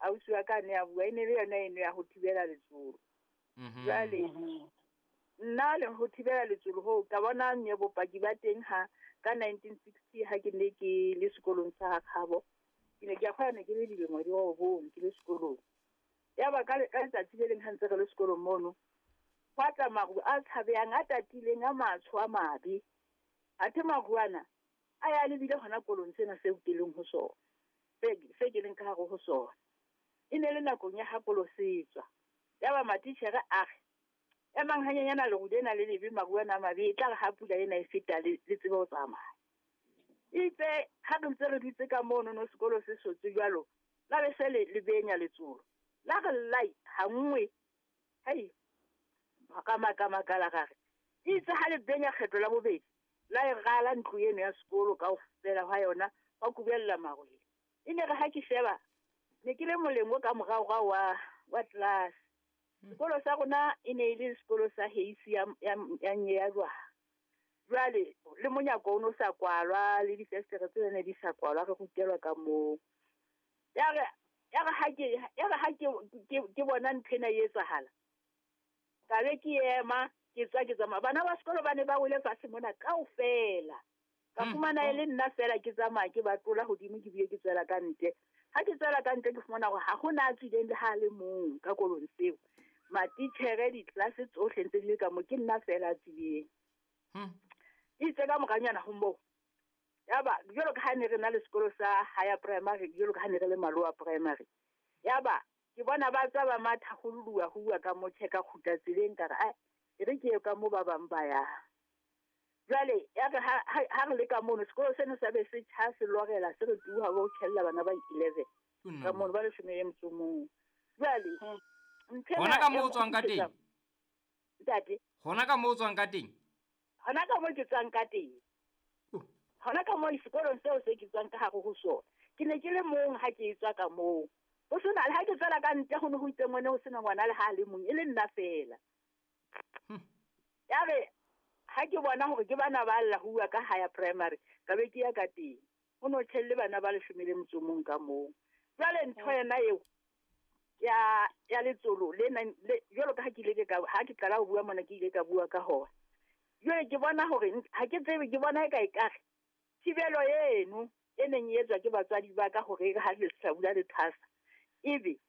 Ausi wa ka ne a bua, e ne le yona eno ya ho thibela letsolo. Jwale nna le ho thibela letsolo hoo ka bona nye bopaki ba teng ha ka 1960 ha ke ne ke le sekolong sa Kgabo. Ke ne ke a kgona, ne ke le dilemo di 9 ke le sekolong. Ya ba ka letsatsi le leng ha ntse re le sekolong mono, hwa tla maru a tshabehang, a tatileng, a matsho a mabe. Athe maru ana a ya lebile hona kolong sena seo ke leng ho sona, se ke leng ka hare ho sona. E ne le nakong ya ha kolo se tswa. Ya ba matitjhere a re, emang hanyenyana leru lena le lebe, maru ana a mabe, e tla re ha pula ena e feta le tsebe ho tsamaya. Itse ha re ntse re dutse ka mono no sekolo se sotse jwalo, la be se le benya letsolo. La re lai ha nngwe, hei, ka makala ra re. Itse ha le benya kgetlo la bobedi, la e rala ntlo eno ya sekolo kaofela hwa yona, wa kubella marwele. E ne re ha ke sheba, ne ke le moleng o ka morao wa class. Sekolo sa rona e ne e le sekolo sa heisi ya ya jwang. Jwale le monyako o no sa kwalwa, le difestere tse ne di sa kwalwa, re rutelwa ka moo. Ya re ha ke bona ntho ena e etsahala, ka be ke ema, ke tswa ke tsamaya. Bana ba sekolo ba ne ba wele fatshe mona kaofela. Ka fumana e le nna fela ke tsamaya ke ba tlola hodimo, ke bile ke tswela ka ntle. Ha ke tswela ka ntle ke fumana hore ha hona a tswileng le ha le mong ka kolong seo. Matitjhere ditlelase tsohle ntse di le ka moo, ke nna fela a tswileng. Itse ka moranyana ho moo, ya ba jwalo ka ha ne re na le sekolo sa higher primary, jwalo ka ha ne re le maloa primary, ya ba ke bona ba tswa ba matha ho lua ho bua ka mo tjhe ka kgutla tseleng, ka re ai e re ke ye ka mo ba bang ba ya. Jwale ya re ha re le ka mono, sekolo seno sa be se tjha, se lorela, se re tuha ho tjhella bana ba 11 ka mono, ba 11. Jwale hona ka moo o tswang ka teng, ntate? Hona ka moo o tswang ka teng? Hona ka moo ke tswang ka teng. Hona ka moo sekolong seo se ke tswang ka hare ho sona. Ke ne ke le mong ha ke tswa ka moo. Ho sena le ha ke tswela ka ntle ho ne ho itse ngwane ho sena ngwana le ha le mong, e le nna fela. Ya re ha ke bona hore ke bana ba lla ho bua ka higher primary, ka be ke ya ka teng. Ho no tjhelle bana ba 11 ka moo. Jwale ntho yena eo ya letsolo le jwalo ka ha ke ile ka ha ke qala ho bua mona, ke ile ka bua ka hona. Jwale ke bona hore ha ke tsebe, ke bona e ka ekare thibelo eno e neng e etswa ke batswadi ba ka hore ha le hlabula le thwasa, ebe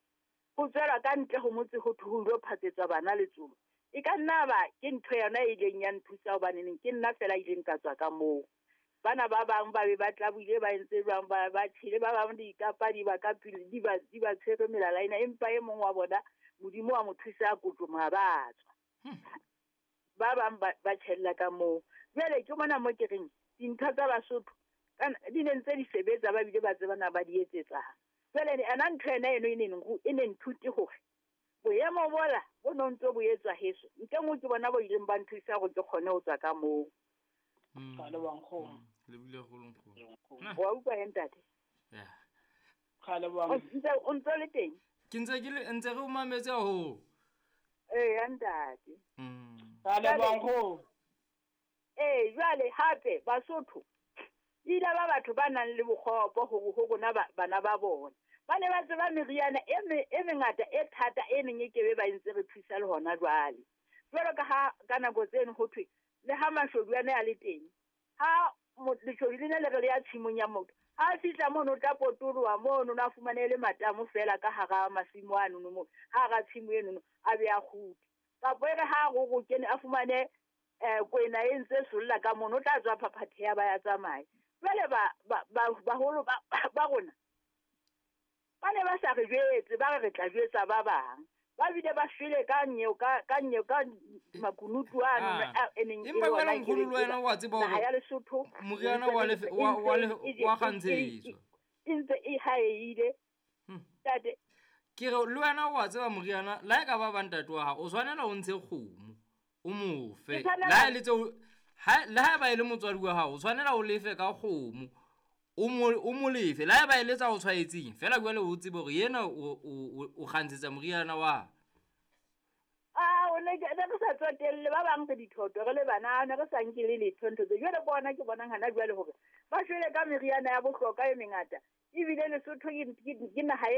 ho tswela ka ntle ho motse ho thwe ho ilo phatsetswa bana letsolo. E ka nna ba ke ntho yona e ileng ya nthusa, hobaneneng ke nna fela ileng ka tswa ka moo. Bana ba bang ba be ba tlabuile, ba entse jwang, ba tjhele, ba bang dikapa di ba ka pele, di ba tshwere melala ena, empa e mong wa bona Modimo wa mo thusa a kotloma ba tswa. Ba bang ba tjhella ka moo. Jwale ke mona mo ke reng dintho tsa Basotho di ne ntse di sebetsa, ba bile ba tsebana ba di etsetsang. Jwale ena ntho ena eno e ne nthute hore boemo bola bo no ntse bo etswa heso, ntle nngwe ke bona bo ileng ba nthusa hore ke kgone ho tswa ka moo. Ka leboha nkgono. Le bile holo nkgono. Wa utlwa he ntate? Ya. Ka leboha. O ntse le teng? Ke ntse ke le ntse re o mametse haholo. Ee, ya ntate. Ka leboha nkgono. Ee, jwale hape Basotho ile ba batho ba nang le bokgopo hore ho rona bana ba bona. Ba ne ba tseba meriana e mengata e thata e neng e kebe ba ntse re thusa le hona jwale. Jwalo ka ha ka nako tseno ho thwe le ha mashodu a ne a le teng, ha leshodu le ne le re le ya tshimong ya motho, ha fihla mono o tla potoloha mono, na fumane le matamo fela ka hara masimo ano mo, hara tshimo eno a be a kgutle. Kapa e re ha go kene a fumane kwena e ntse solla ka mono, o tla tswa phaphatheha ba ya tsamaya. Jwale baholo ba rona ba ne ba sa re jwetse, ba re tla jwetsa ba bang. Ba bile ba shwele ka nyeo ka makunutu ano e neng e empa wena nkgono le wena wa tseba hore ya Lesotho moriana wa kgantshetswa e ntse e haeile. Ntate ke re le wena wa tseba moriana la e ka ba ntate wa hao, o tshwanela o ntshe kgomo o mo fe, la le tseo le ha ba e le motswadi wa hao, o tshwanela o lefe ka kgomo o mo lefe, la ba eletsa o tshwaetseng fela jwale o tsebe hore yena o kgantshetsa moriana wa. O ne re sa tsotelle ba bang re dithoto re le bana, ne re sa nke le letho ntho tse. Jwale bona ke bonang hana jwale hore ba shwele ka meriana ya bohlokwa e mengata, ebile Lesotho ke naha e